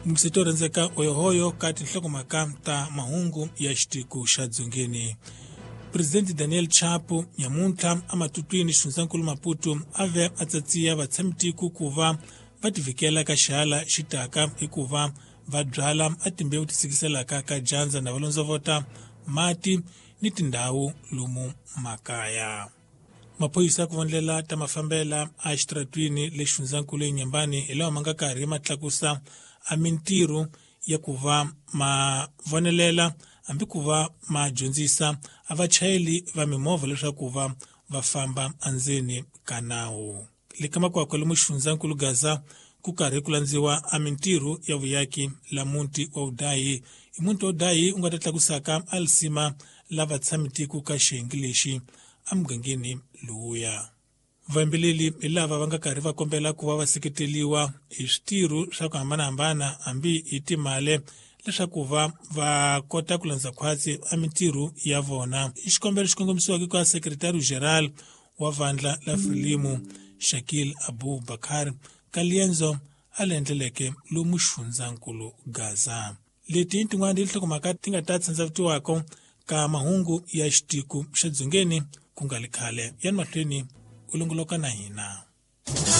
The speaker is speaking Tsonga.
Mixito rhandzeka oyohoyo ka tinhlokomhaka ta mahungu ya xitiko xa dzongeni. Presidente Daniel Chapo nyamuntlha ematutwini xifundzankulu Maputo a ve a tsatsiya vatshamitiko ku va va tivikela ka xihala xi taka hikuva va byala a timbewu ti sikiselaka ka dyandza na va londzovota mati ni tindhawu lomu makaya. Maphorisa ku vondlela ta mafambela a xitaratwini le xifundzankulu eNyembani hi lawa ma nga karhi ma tlakusa a mintirho ya ku va ma vonelela hambi ku va ma dyondzisa a vachayeli va mimovha leswaku va va famba endzeni ka nawu. Le ka makwakwa lomu xifundzankulu Gaza ku karhi ku landziwa a mintirho ya vuyaki la muti wa Udayi. I muti wa Udayi u nga ta tlakusaka a lisima la vatshamitiko ka xiyenge lexi emugangeni lowuya. Vayimbeleri hi lava va nga karhi va kombela ku va va seketeliwa hi switirho swa ku hambanahambana hambi hi timali leswaku va va kota ku landza khwatsi a mintirho ya vona. I xikombelo xi kongomisiwaka ka Secretary General wa vandla la Frelimo Shakil Abu Bakar ka liendzo a le endleleke lomu xifundzankulu Gaza. Leti i tin'wana tinhlokomhaka ti nga ta tsandzavutiwaka ka mahungu ya xitiko xa dzongeni ku nga li khale. Yani mahlweni u longoloka na hina.